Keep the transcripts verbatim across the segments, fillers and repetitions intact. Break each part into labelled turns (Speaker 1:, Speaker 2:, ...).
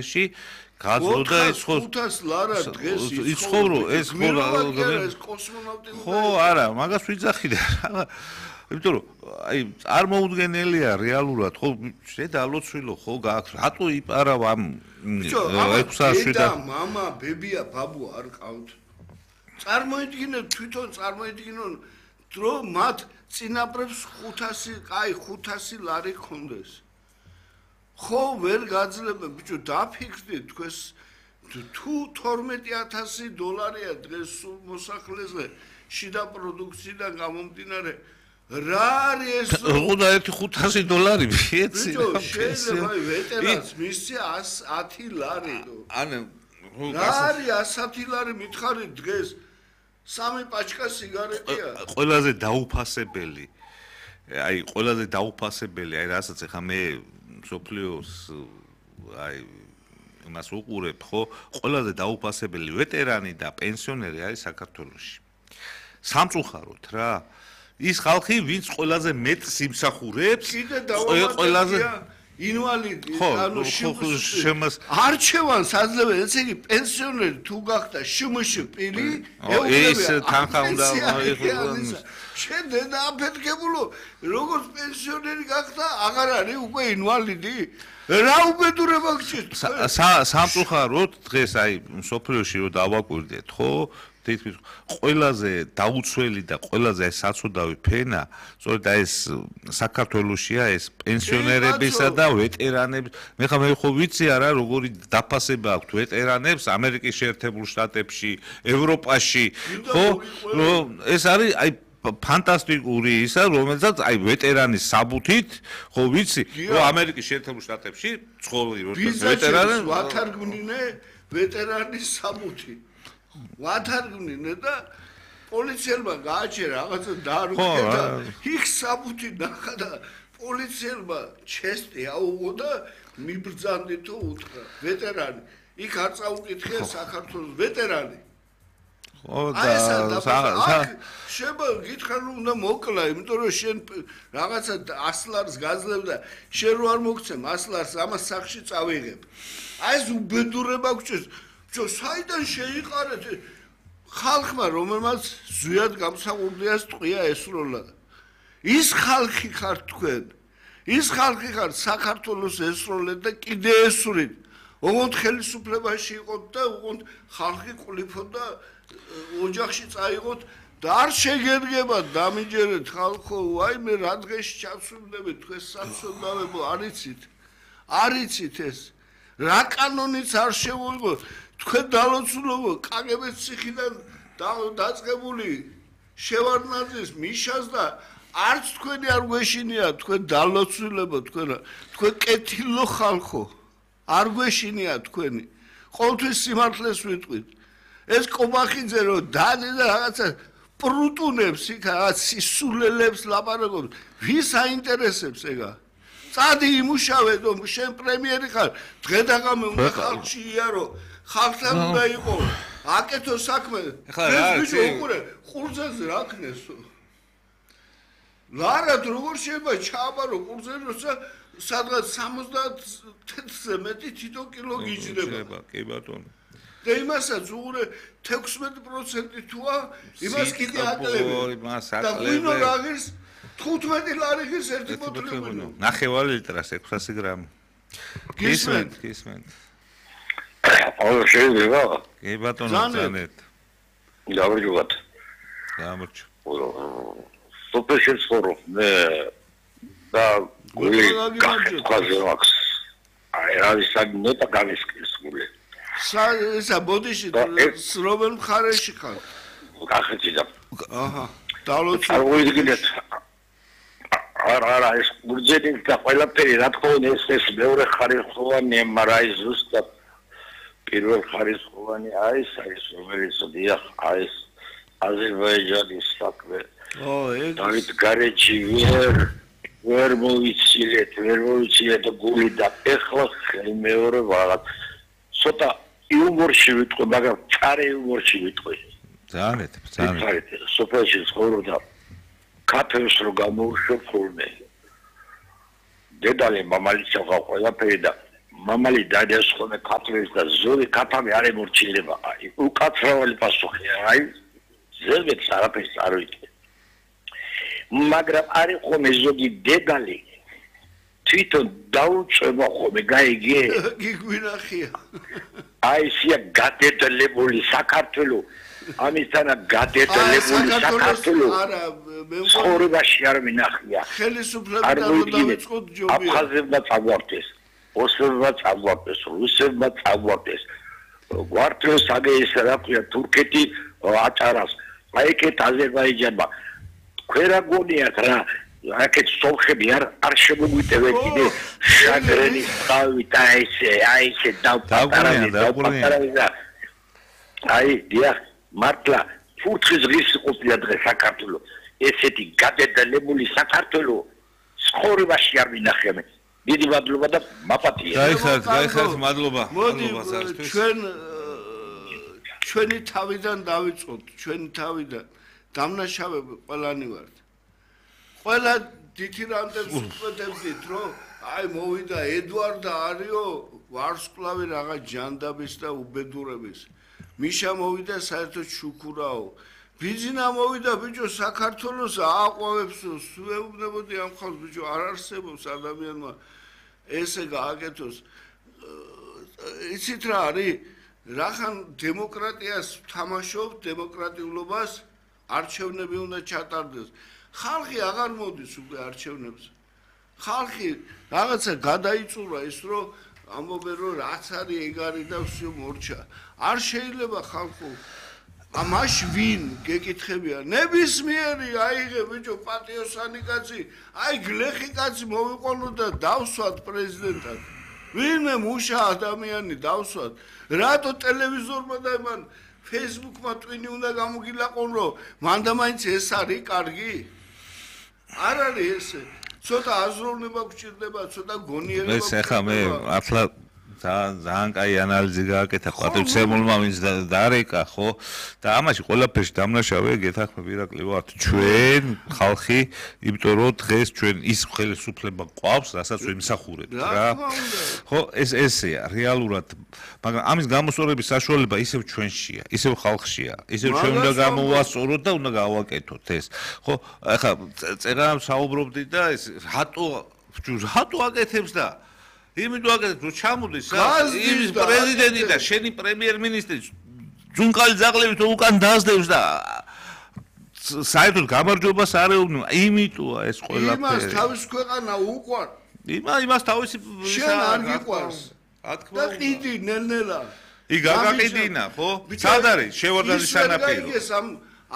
Speaker 1: ში გაძლოდა ეს ხო
Speaker 2: ხუთას ლარა დღეს
Speaker 1: ის ხო ეს ხო
Speaker 2: ეს კოსმონავტი
Speaker 1: ხო არა მაგას ვიძახი და რა იმიტომ რომ აი წარმოუდგენელია რეალურად ხო შედა ალოცვილო ხო გააქვს რატო იპარავ ამ ექვსასი
Speaker 2: და მამა ბებია ბაბუ არ ყავთ წარმოიდგინე თვითონ წარმოიდგინონ რომ მათ წინაპრებს ხუთასი აი ხუთასი ლარი ქონდეს ხო ვერ გაძლებენ ბიჭო დაფიქრდით თქვენს თუ თორმეტი ათასი დოლარია დღეს სულ მოსახლეზე შიდა პროდუქციიდან გამომდინარე რა არის ეს
Speaker 1: ხუდა ერთი ხუთასი დოლარი ვიცი
Speaker 2: ბიჭო შეიძლება ვეტერანს მისცე ათი ლარი
Speaker 1: ანუ
Speaker 2: რა არის ათი ლარი მითხარი დღეს სამი პაჩკა სიგარეტია
Speaker 1: ყველაზე დაუფასებელი აი ყველაზე დაუფასებელი აი რასაც ახლა მე სოფლიოს აი მას უყურებ ხო ყველაზე დაუფასებელი ვეტერანი და პენსიონერი არის საქართველოში სამწუხაროდ რა ის ხალხი ვინც ყველაზე მეტს იმსახურებს
Speaker 2: ყველაზე ინვალიდი ანუ
Speaker 1: შემოს
Speaker 2: არჩევანს აძლევენ ესე იგი პენსიონერი თუ გახდა შმშ პილი
Speaker 1: ეს თანხა უნდა
Speaker 2: შენ დედა აფეთქებულო როგორც პენსიონერი გახდა აღარ არის უკვე ინვალიდი რა უბედურება გჭირთ
Speaker 1: სამწუხაროდ დღეს აი სოფლიოში რო დავაკვირდეთ ხო თითქმის ყველაზე დაუცველი და ყველაზე საცუდავი ფენა სწორედ ეს საქართველოსია ეს პენსიონერებისა და ვეტერანების მე ხა მე ხო ვიცი არა როგორი დაფასება აქვთ ვეტერანებს ამერიკის შეერთებულ შტატებში ევროპაში ხო ეს არის აი ფანტასტიკური ისა რომელსაც აი ვეტერანის საბუთით ხო ვიცი რომ ამერიკის შეერთებულ შტატებში ცხოვრობენ როდეს ვეტერანი
Speaker 2: ვათარგმნინე ვეტერანის საბუთი ვათარგმნინე და პოლიციელმა გააჩერა რაღაცა დაარუქე და იქ საბუთი ნახა და პოლიციელმა ჩესტი აუღო და მიბრძანდი თუ უთხრა ვეტერანი იქ არ წაუკითხე საქართველოს ვეტერანი
Speaker 1: ხო და
Speaker 2: შეება გითხრა რომ უნდა მოკლა იმიტომ რომ შენ რაღაცა ასლარს გაძლევ და შენ რო არ მოგცემ ასლარს ამას სახში წავიღებ აი ეს უბედურება გჭირს ჯო საიდან შეიყარეთ ხალხმა რომელმაც ზვიად გამსახურდიას ტყვია ესროლა ის ხალხი ხარ თქვენ ის ხალხი ხარ საქართველოს ესროლეთ და კიდე ესვრით ოღონდ ხელისუფლებაში იყოთ და ოღონდ ხალხი ყლიფოთ და ოჯახში წაიღოთ და არ შეგერგებათ დამიჯერეთ ხალხო აი მე რა დღეში ჩავსრულდები თქვენ საცოდავებო არიცით არიცით ეს რა კანონიც არ შევიღო თქვენ დალოცულობო კაგებეს ციხიდან დაწყებული შევარდნაძის მიშას და არც თქვენი არ გვეშინია თქვენ დალოცულებო თქვენ თქვენ კეთილო ხალხო არ გვეშინია თქვენი ყოველთვის სიმართლეს ვიტყვით ეს კობახიძე რო დადე და რაღაცა პრუტუნებს იქ რაღაც სისულელებს ლაპარაკობს ვის აინტერესებს ეგა წადი იმუშავე რომ შენ პრემიერი ხარ დღე და ღამე უნდა ხალხში იარო ხალხთან უნდა იყო აკეთო საქმე ეს ბიჭო უყურე ყურძენზე რა ქნესო ლარად როგორ შეიძლება ჩააბარო ყურძენი როცა სადღაც სამოცდაათზე მეტი თითო კილო გიჯდება
Speaker 1: კი ბატონო
Speaker 2: და იმასაც უყურე თექვსმეტი პროცენტი თუა იმას კიდე აკლები და ღვინო რაღირს თხუთმეტი ლარი ღირს ერთი ბოთლი ღვინო
Speaker 1: ნახევარი ლიტრას ექვსასი გრამი გისმენთ გისმენთ
Speaker 3: აუ შეიძლება
Speaker 1: კი ბატონო ზანეთ
Speaker 3: დავიჯობათ
Speaker 1: გამარჯო
Speaker 3: სუპერშენ სკორო მე და გული კაზმაქს აი არის საგნეტა გამისკის გული
Speaker 2: სა ბოდიში სრობელ მხარეში ხარ
Speaker 3: კახეთი და
Speaker 2: აჰა დალოცი
Speaker 3: არ ვიგინეთ არა არა ეს გურჯენი და ყველაფერი რა თქმა უნდა ეს ეს მეორე ხარისხოვანი მაგრამ ზუსტად პირველ ხარისხოვანი არის ეს რომელიც დიახ არის აზერბაიჯანის საქმე
Speaker 2: ო ეგ
Speaker 3: დავით გარეჯი ვერ ვერ მოვიცილეთ ვერ მოვიცილეთ გული და ეხლა მეორე ვაღაც ცოტა იუმორში ვიტყვი მაგრამ წარე იუმორში ვიტყვი
Speaker 1: ძალიან ძალიან
Speaker 3: სოფელში ცხოვრობდა კაფეს რო გამოუშვებ ხოლმე დედალი მამალიც აღა ყველაფერი და მამალი დადას ხოლმე ქართლის და ზოგი ქათამი არ ემორჩილება. აი, უკაცრავალი პასუხია. აი, ზევეთ არაფერს არ ვიცი. მაგრამ არის ხოლმე ზოგი დედალი. თვითონ დაუწევა ხოლმე, გაიგე?
Speaker 2: გიგვინახია.
Speaker 3: აი, სია გადედლებული საქართველო. ამისთანა გადედლებული საქართველო.
Speaker 2: არა, მე
Speaker 3: ცხოვრებაში არ მინახია.
Speaker 2: ხელისუფლება დავიწყოთ ჯობია.
Speaker 3: აფხაზებმა წაგვარდეს. ოსებმა წაგვარდეს, რუსებმა წაგვარდეს. გვარტოს აგეის რა ქვია თურქეთი აჭარას. აი ეგეთ აზერბაიჯანმა ქვედა გონიათ რა. აქეთ სოლხები არ არ შემოგვიტევენ კიდე შაგრენის თავი და ესე, აი ესე დავპატარავენ, დავპატარავენ. აი, დიახ, მართლა ფურთხის ღირს ყოფილა დღეს საქართველო. ესეთი გადედლებული საქართველო ცხოვრებაში არ მინახია მე. დიდი მადლობა და მაპატია.
Speaker 1: გაიხარეთ, გაიხარეთ, მადლობა.
Speaker 2: მოდი ჩვენ ჩვენი თავიდან დავიწყოთ, ჩვენი თავიდან დამნაშავები ყველანი ვართ. ყველა დითირამდე ვსწრებდით, რომ აი მოვიდა ედვარდა არიო ვარსკვლავი რაღაც ჯანდაბის და უბედურების. მიშა მოვიდა საერთოდ შუქურაო. ბიძინა მოვიდა ბიჭო საქართველოს ააყვავებს სუეუბნებოდი ამ ხალხს ბიჭო არ არსებობს ადამიანმა ესე გააკეთოს. იცით რა არის? რახან დემოკრატიას თამაშობ, დემოკრატიულობას არჩევნები უნდა ჩატარდეს. ხალხი აღარ მოდის უკვე არჩევნებზე. ხალხი რაღაცა გადაიწურა ის რომ ამბობენ რომ რაც არის ეგ არის და всё მორჩა. არ შეიძლება ხალხო ამაშ ვინ გეკითხებია ნებისმიერი აიღე ბიჭო პატიოსანი კაცი აი გლეხი კაცი მოვიყოლო და დავსვათ პრეზიდენტად. ვინმე მუშა ადამიანი დავსვათ. რატო ტელევიზორმა და მან ფეისბუქმა ტვინი უნდა გამოგილაყონ რომ მანდა მაინც ეს არის კარგი? არ არის ესე. ცოტა აზროვნება გჭირდება, ცოტა გონიერება.
Speaker 1: ეს ახლა მე ახლა ძალიან ძალიან კაი ანალიზი გააკეთა პატრიცემულმა ვინც დარეკა ხო და ამაში ყველაფერში დამნაშავე გეთახმები ირაკლი ვართ ჩვენ ხალხი იმიტომ რომ დღეს ჩვენ ის ხელისუფლება ყავს რასაც ვიმსახურებთ რა ხო ეს ესეა რეალურად მაგრამ ამის გამოსწორების საშუალება ისევ ჩვენშია ისევ ხალხშია ისევ ჩვენ უნდა გამოვასწოროთ და უნდა გავაკეთოთ ეს ხო ახლა წერა საუბრობდი და ეს რატო რატო აკეთებს და იმიტომ აკეთებს რომ ჩამოდის იმის პრეზიდენტი და შენი პრემიერ-მინისტრი ძუნკალი ძაღლებით უკან დასდევს და საერთოდ გამარჯვებას არ ეუბნება იმიტოა ეს ყველაფერი
Speaker 2: იმას თავის ქვეყანა უყვარ
Speaker 1: იმა იმას თავისი
Speaker 2: შენ არ გიყვარს
Speaker 1: რა თქმა
Speaker 2: და
Speaker 1: უნდა
Speaker 2: ყიდი ნელ-ნელა
Speaker 1: ი გაგაყიდინა ხო სად არის შევარდანის სანაპირო
Speaker 2: ის ამ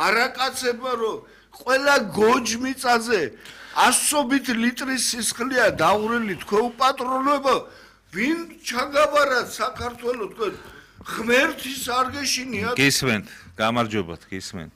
Speaker 2: არაკაცებმა რომ ყველა გოჯმიწაზე ასობით ლიტრის სისხლია დაურელი თქვენ უპატრონებო ვინ ჩაგაბარათ საქართველოს თქვენ ღმერთის არ გეშინიათ
Speaker 1: გისმენთ გამარჯობათ გისმენთ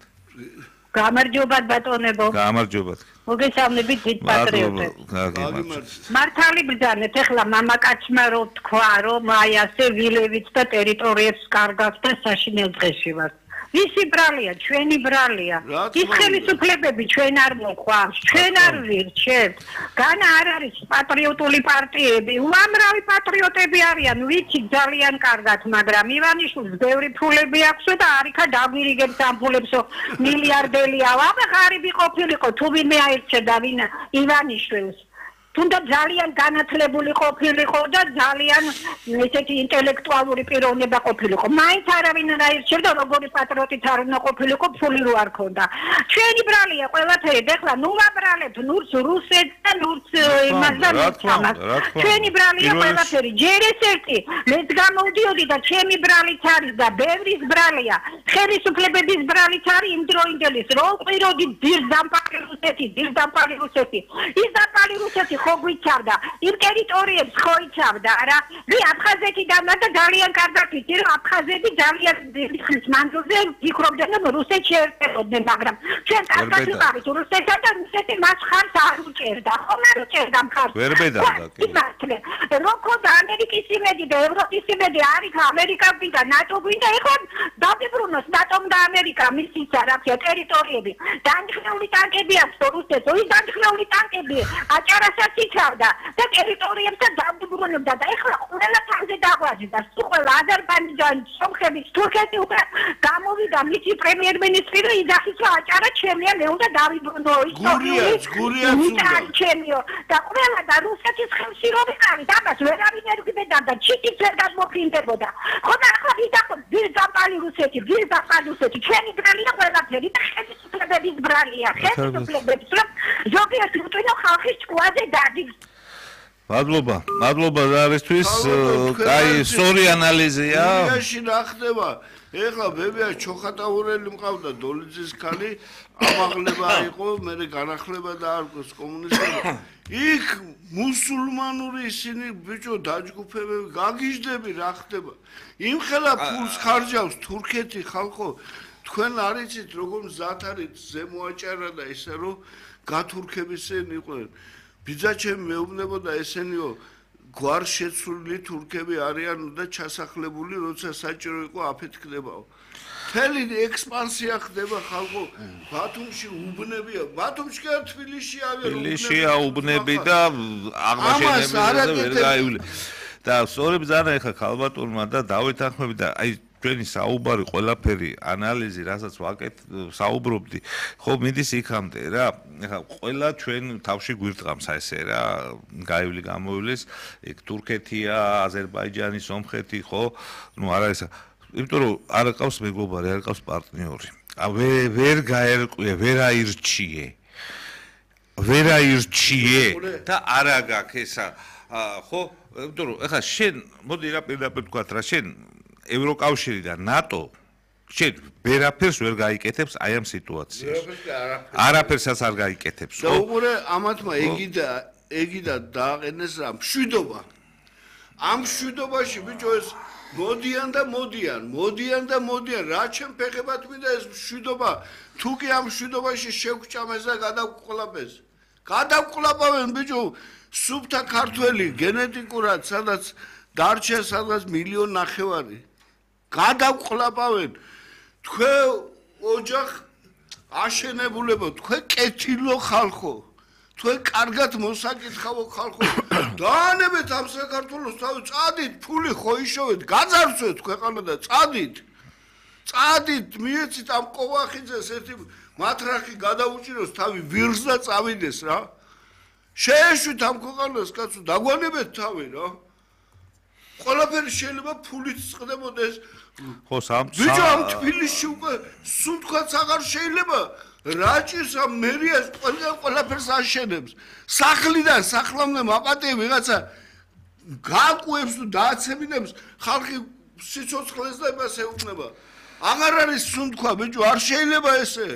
Speaker 4: გამარჯობათ ბატონებო
Speaker 1: გამარჯობათ
Speaker 4: მოგესალმებით დიდ პატრიოტებს მართალი ბრძანეთ ეხლა მამაკაცმა რო თქვა რომ აი ასე ვილევიც და ტერიტორიებს კარგავს და საშინელ დღეში ვარ ვისი ბრალია ჩვენი ბრალია ის ხელისუფლებები ჩვენ არ მოყვარს ჩვენ არ ვირჩევთ განა არ არის პატრიოტული პარტიები უამრავი პატრიოტები არიან ვიცი ძალიან კარგად მაგრამ ივანიშვილს ბევრი ფულები აქვს და არიქა დაგვირიგებს ამ ფულებსო მილიარდელია აბა ღარიბი ყოფილიყო თუ ვინმე აირჩევდა ვინ ივანიშვილს თუნდაც ძალიან განათლებული ყოფილიყო და ძალიან ესეთი ინტელექტუალური პიროვნება ყოფილიყო. მაინც არავინ არ აირჩევდა როგორი პატრიოტით არ უნდა ყოფილიყო ფული რო არ ქონდა. ჩვენი ბრალია ყველაფერი ეხლა ნუ ვაბრალებთ ნურს რუსეთს და ნურს იმას და ამას. ჩვენი ბრალია ყველაფერი ჯერ ეს ერთი მეც გამოვდიოდი და ჩემი ბრალიც არის და ბევრის ბრალია. ხელისუფლებების ბრალიც არის იმ დროინდელის რო ყვიროდი ძირდამპალი რუსეთი ძირდამპალი რუსეთი. ის დამპალი რუსეთი ხო გვიცავდა იმ ტერიტორიებს ხო იცავდა რა მე აფხაზეთიდან და ძალიან კარგად ვიცი რომ აფხაზეთი ძალიან დიდი ხნის მანძილზე ფიქრობდნენ რომ რუსეთს შეერტებოდნენ მაგრამ ჩვენ კარგად ვიყავით რუსეთსა და რუსეთი მას ხარს არ უჭერდა ხომ არ უჭერდა მხარს
Speaker 1: ვერ ბედავდა კი
Speaker 4: მართლა როგორ ამერიკის იმედი და ევროპის იმედი არის ამერიკა და ნატო და ეხლა დაგიბრუნოს ნატომ და ამერიკა მისცა რა ქვია ტერიტორიები დანიშნული ტანკები აქვს რუსეთს ის დანიშნული ტანკები აჭარასაც ხალხს იცავდა და ტერიტორიებთან დაუბრუნებდა და ეხლა ყველა თავზე დაღვაჭდა. ყველა აზერბაიჯანის, სომხეთის, თურქეთის უკვე გამოვიდა მისი პრემიერ-მინისტრი და იძახის რომ აჭარა ჩემია, მე უნდა დავიბრუნო
Speaker 2: ისტორიას, გურიას უნდა.
Speaker 4: ჩემიო და ყველა და რუსეთის ხელში რომ ვიყავით, ამას ვერავინ ერგებდა და ჩიტიც ვერ გადმოფინდებოდა. ხო და ახლა ვიდახოთ ვირდაპალი რუსეთი, ვირდაპალი რუსეთი, ჩემი ბრალია ყველაფერი და ხელისუფლებების ბრალია, ხელისუფლებების რომ ზოგიერთი უტვინო ხალხის ჭკუაზე დადის.
Speaker 1: მადლობა, მადლობა ზარისთვის, კაი, სწორი ანალიზია.
Speaker 2: გურიაში რა ხდება? ეხლა ბებია ჩოხატაურელი მყავდა დოლიძის ქალი, ამაღლება იყო, მერე განახლება დაარქვეს კომუნისტებმა. იქ მუსულმანური ისინი ბიჭო დაჯგუფებები, გაგიჟდები რა ხდება? იმხელა ფულს ხარჯავს თურქეთი ხალხო, თქვენ არ იცით როგორ მზად არის ზემოაჭარა და ისე რომ გათურქებისენ იყვნენ. ბიძაჩემ მეუბნებოდა ესენიო გვარ შეცვლილი თურქები არიან და ჩასახლებული როცა საჭირო იყო აფეთქდებაო. მთელი ექსპანსია ხდება ხალხო ბათუმში უბნებია. ბათუმში კი თბილისში ავია
Speaker 1: თბილისშია უბნები და აღმაშენებელზე ვერ გაივლი. და სწორედ ზანა ეხა ქალბატონმა და დავით ახმები და აი ჩვენი საუბარი ყველაფერი ანალიზი რასაც ვაკეთ საუბრობდი ხო მიდის იქამდე რა ეხა ყველა ჩვენ თავში გვირტყამს ესე რა გაივლი გამოივლის იქ თურქეთია აზერბაიჯანი სომხეთი ხო ნუ არა ესა იმიტომ რომ არ ყავს მეგობარი არ ყავს პარტნიორი ვერ ვერ გაერკვია ვერ აირჩიე ვერ აირჩიე და არა გაქვს ესა ხო იმიტომ რომ ეხა შენ მოდი რა პირდაპირ ვთქვათ რა შენ ევროკავშირი და ნატო შენ ვერაფერს ვერ გაიკეთებს აი ამ სიტუაციაში. არაფერსაც არ გაიკეთებს.
Speaker 2: და უყურე ამათმა ეგიდა ეგიდა დააყენეს რა მშვიდობა. ამ მშვიდობაში ბიჭო ეს მოდიან და მოდიან, მოდიან და მოდიან. რა ჩემ ფეხებად მინდა ეს მშვიდობა. თუ კი ამ მშვიდობაში შევგჭამეს და გადავყოლაპეს. გადავყოლაპავენ ბიჭო სუფთა ქართველი გენეტიკურად სადაც დარჩა სადღაც მილიონ ნახევარი. გადავყლაპავენ თქვენ ოჯახ აშენებულებო თქვენ კეთილო ხალხო თქვენ კარგად მოსაკითხავო ხალხო დაანებეთ ამ საქართველოს თავი წადით ფული ხოიშოვეთ გაძარცვეთ ქვეყანა და წადით წადით მიეცით ამ ყოვახიძეს ერთი მათრახი გადაუჭიროს თავი ვირს და წავიდეს რა შეეშვით ამ ქვეყანას კაცო დაგვანებეთ თავი რა ყველაფერი შეიძლება ფულით წყდებოდეს
Speaker 1: ხო სამ
Speaker 2: ბიჭო ამ თბილისში უკვე სუნთქვაც აღარ შეიძლება რაჭის ამ მერიას ყველა ყველაფერს აშენებს სახლიდან სახლამდე მაპატე ვიღაცა გააკუებს თუ დააცემინებს ხალხი სიცოცხლეს და იმას ეუბნება აღარ არის სუნთქვა ბიჭო არ შეიძლება ესე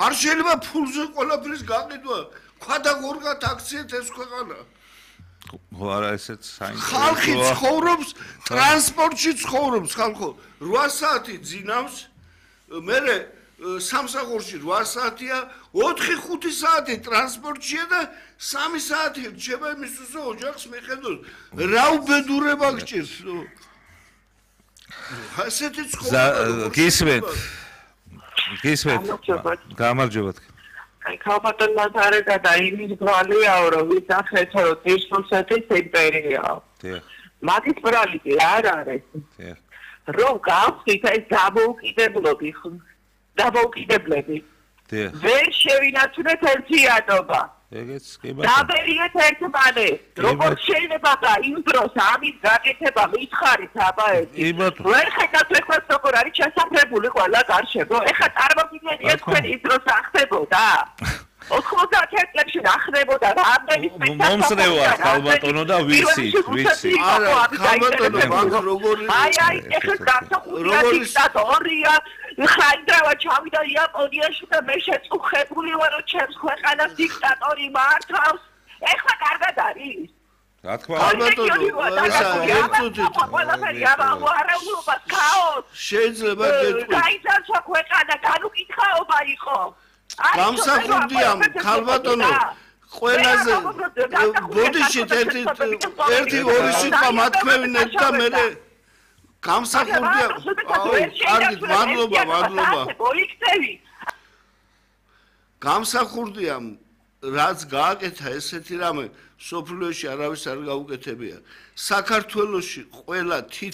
Speaker 2: არ შეიძლება ფულზე ყველაფრის გაყიდვა ქვადა გორგათ აქციეთ ეს ქვეყანა
Speaker 1: ხო არა ესეც საინტერესოა
Speaker 2: ხალხი ცხოვრობს ტრანსპორტში ცხოვრობს ხალხო რვა საათი ძინავს მერე სამსახურში რვა საათია ოთხი ხუთი საათი ტრანსპორტშია და სამი საათი რჩება იმისთვის რომ ოჯახს მიხედოს რა უბედურება გჭირს ასეთი ცხოვრება
Speaker 1: გისმენთ გისმენთ გამარჯობა
Speaker 5: აი ქალბატონმა თარგა და იმის ბრალიაო რომ ვისახეთ რომ ტირსუსეთის იმპერიაა. დიახ. მაგის ბრალი კი არ არის. დიახ. რომ გავხდით ეს დამოუკიდებლობი დამოუკიდებლები. დიახ. ვერ შევინაცვლეთ ერთიანობა.
Speaker 1: ეგეც კი ბატონო.
Speaker 5: დაბერიეთ ერთმანეთს. როგორც შეიძლება და იმ დროს ამის გაკეთება მითხარით აბაეთი.
Speaker 1: კი ბატონო.
Speaker 5: ვერ ხედავთ ეხლა როგორ არის ჩასაფრებული ყველა გარშემო. ეხლა წარმოგიდგენია თქვენ ის დროს ახდებოდა. ოთხმოცდაათი წლებში ახდებოდა რამდენი სპექტაკლი.
Speaker 1: მომსრევარ ქალბატონო და ვიცი, ვიცი.
Speaker 2: არა, ქალბატონო როგორი
Speaker 5: აი აი ეხლა გასახურია დიქტატორია. ხაიდრავა ჩავიდა იაპონიაში და მე შეწუხებული ვარ რომ ჩემს ქვეყანას დიქტატორი მართავს. ეხლა კარგად არის.
Speaker 1: რა თქმა უნდა,
Speaker 2: ესა ერთუდი
Speaker 5: ყველაფერი ამაუარებლობა ქაოს.
Speaker 2: შეიძლება გეტყვი.
Speaker 5: გაიძარცვა ქვეყანა, განუკითხაობა იყო.
Speaker 2: გამსახურდია ქალბატონო ყველაზე ბოდიში ერთი ერთი ორი სიტყვა მათქმევინეთ და მე გამსახურდია კარგით მადლობა მადლობა გამსახურდია რაც გააკეთა ესეთი რამე სოფლიოში არავის არ გაუკეთებია. საქართველოში ყველა თითქმის